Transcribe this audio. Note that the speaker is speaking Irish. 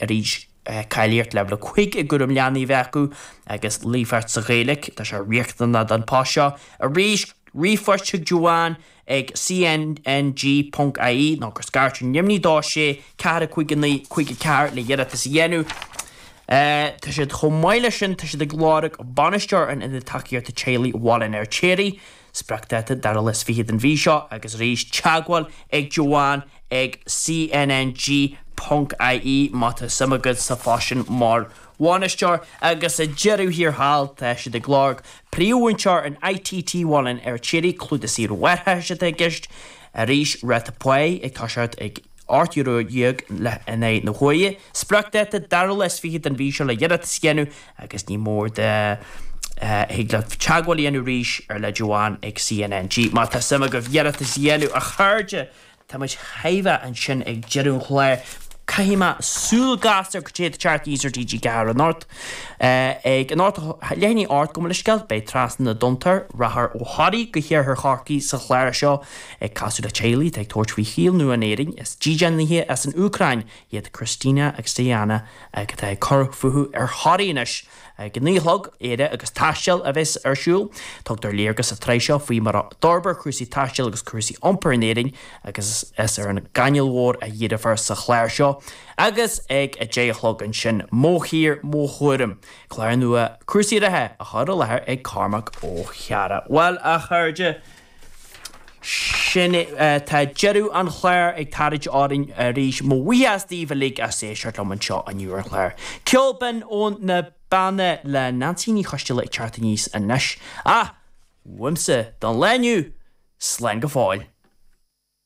Arís, cáilíocht leibhéal 5 i gcúram leanaí a bheith acu agus líofacht sa Ghaeilge, tá sé riachtanach don post seo. Arís, ríomhphost chuig Joanne ag cnng ponc ie nó gur scairt ar neamhní 2 6 4 5 9 5 4 le hiarratas a dhéanamh. Tá siad chomh maith leis sin, tá siad ag lorg bainisteoir an Ionaid Tacaíochta Teaghlaigh Bhaile an Fheirtéaraigh. Spriocdháta, dara lá is fiche den mhí seo agus arís teagmháil ag Joanne ag cnng ponc ie má tá suim agat sa phost sin mar bhainisteoir. Agus ag deireadh thiar thall tá siad ag lorg príomh-mhúinteoir in ITT Bhaile an Fheirtéaraigh, clúdach saoire mháithreachais atá i gceist. Arís ráta páí ag toiseacht ag €18 in aghaidh na huaire. Spriocdháta, dara lá is fiche den mhí seo le hiarratas a dhéanamh agus ní mór do thig leat teagmháil a dhéanamh arís ar le Joanne ag CNNG má tá suim agaibh iarratas a dhéanamh. A chairde, tá muid chóir a bheith ansin ag deireadh an chláir. Caithfidh mé súil gasta ar cad é atá ag teacht aníos ar TG4 anocht. Ag anocht leath i ndiaidh a 8 gabh mo leithscéal, beidh Trasna na dTonntar, rachfar ó Thoraí go hiarthar Chorcaí sa chlár seo ag casadh le teaghlaigh atá ag tabhairt faoi shaol nua in Éirinn. Is dídeanaithe as an Úcráin iad Kristina agus Diana atá ag cur fúthu ar Thoraí anois. Ag a 9 a chlog, Éire agus Taisteal a bheas ar siúl. Tugtar léargas sa tsraith seo faoi mar a d'fhorbair cúrsaí taistil agus cúrsaí iompair in Éirinn agus is ar an gCainéal Mhór a dhíreofar sa chlár seo. Agus ag a 10 a chlog ansin, Mo Thír, Mo Thuairim, clár nua cúrsaí reatha á chur i láthair ag Cormac Ó hEára. Bhuel, a chairde, Sin é, tá deireadh an chláir ag tarraingt orainn arís. Mo bhuíochas daoibh uilig as éisteacht liom anseo inniu ar an chlár. Ceol binn ó na Beanna le Neansaí Ní Choisdealbha ag teacht aníos anois. Ach, uaimse don lá inniu, slán go fóill.